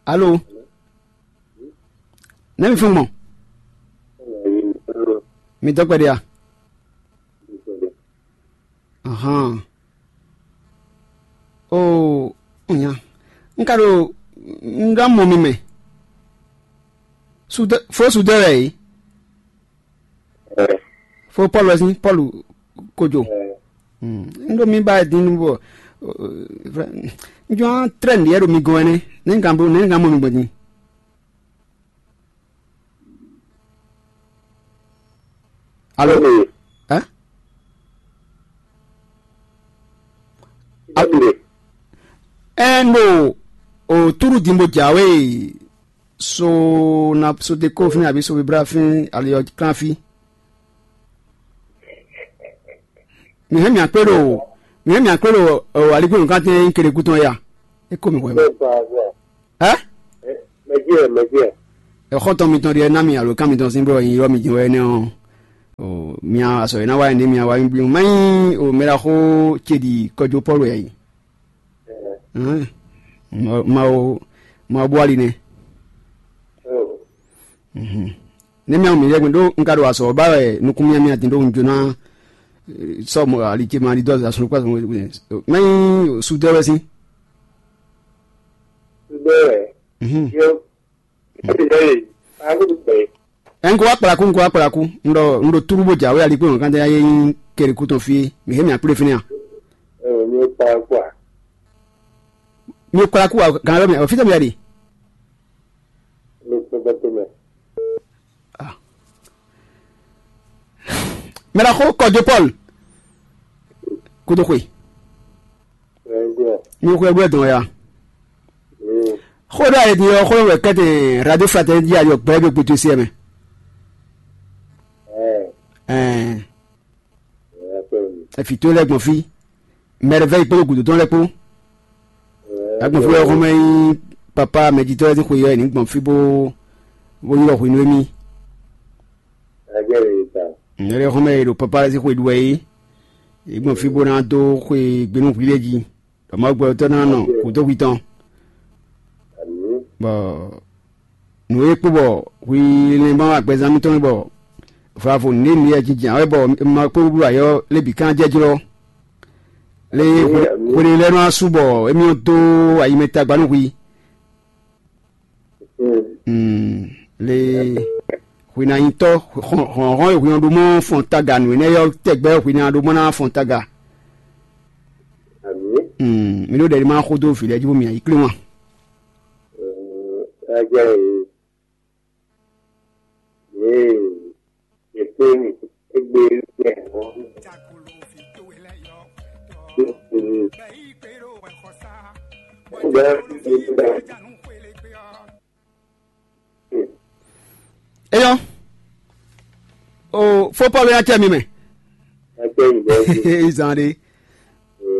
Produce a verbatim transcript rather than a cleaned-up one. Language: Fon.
Alo, nɛ́ mi fún gbɔn? Mi dɔ́ kpɛɖé a? Ahan. Oo, nya. Un ka ɖo un ɖo amɔ mi mɛ. Sudɔ fó sudɔ wɛ yìí. Fó Pɔ́lu wɛ sín Pɔ́lu kojo. Un ɖo mi ba din nu bɔ un jɔ trɛ́n ɖiɛ ɖo mi gɔn ɛnɛ. Nɛ́ un ka bo nɛ́ un ka mɔ mi gbɔn din? Alo? Ɛ? Ɛ, un ɖo o túɖu din bó jǎwe so na so de kó fínɛ́ abǐ so vibra fínɛ́ ali ɔ́ klán fí. Mi hɛn mì akpé ɖo mi hɛn mì akpé ɖo aligbó nǔkantɛn nyí kele kútɔn ya. É kó mi hwɛ mɛ. Ɛ? Mɛjɛ, mɛjɛ. Ɛxɔtɔn mitɔn ɖiɛ ná mi alo kan mitɔn sín blɔ nyi ylɔ́ mi jɛn wɛ énɛ́ ɔ́. O mia asɔ e ná wá nyi mi awa mi blí má nyí o mɛ ɖaxó ce ɖi kɔjó Pɔ́lu yɛ yi. Mawu mawu bó ali nɛ. Nɛ́ mía mi yɛ́gbɛ́n ɖó un ka ɖo azɔ̌ ba wɛ nukún mía mía din ɖó un jó ná sɔ́ mɔ ali ce ma ɖi dó azɔ̌ kpá mɛ nyí sudɛ́ wɛ sín. Sudɛ́ wɛ. Yɔ. Ɛn ko wá kplakú, un ko wá kplakú. Un ɖɔ un ɖo túrú bó jǎwe ali kpé wọn kántɛ yá yé nyí kɛɖi kú tɔn fí. Mi hé mi akplé fínɛ́ a? Mi kplakú a? Mi kplakú a gan lɔ mi ɔ fítɛ mi yá ɖe. Mi kplakú mɛ. Mɛ ɖaxó kɔjó Pɔ́lu kúdó xwe. Mi xwe gbɛ dɔn ya. Xó ɖo ayé din ɔ́ xó wɛ kɛ́tɛ radio fraternité jí ayɔ gbɛ gbé gbé tó sí ɛ mɛ. Ɛɛ. Ɛfì tó lɛ gbɔn fí. Mɛɖevɛ́ yi kpódó gǔdo tɔn lɛ́ɛ kpó. Agbɔnflú ɔ́ xɔmɛ nyí papa mɛjitɔ́ lɛ́ɛ sín xwe ɔ́, è nǐ gbɔn fí bó bó ylɔ́ hwenu émí. Nyɛ lɛ́ɛ xɔmɛ e ɖo papa lɛ́ɛ sín xwe ɖu wɛ é, è gbɔn fí bó ná dó xwe gbe nú hwi lɛ́ɛ jí, ɖɔ Mawu gbɛtɔ́ ná nɔ kúdó hwi tɔn. Bɔ nǔ e kpó bɔ hwi lɛ́n ma wa gbɛzán mitɔn bɔ vǎvo nǔɖé nǔɖé jinjin ǎ wɛ bɔ ma kpó bló ayɔ lé bǐ kan jɛjlɔ́. Lé hwelelɛ́nú asú bɔ émí dó ayi mɛ tagba nú hwi. Le hwinanyitɔ́ hlɔ̌nhlɔ́n e hwin ɔ́ ɖó mɔ fɔn taga nǔ énɛ́ ɔ́ tɛgbɛ hwin ná ɖó mɔ ná fɔn taga. Mi ɖó ɖɛ̌ ma xó dó vǐ lɛ́ɛ jí bó mì ayǐ klé wan. Eyɔ o fo Pɔlu ya cɛ mi mɛ. Izan de.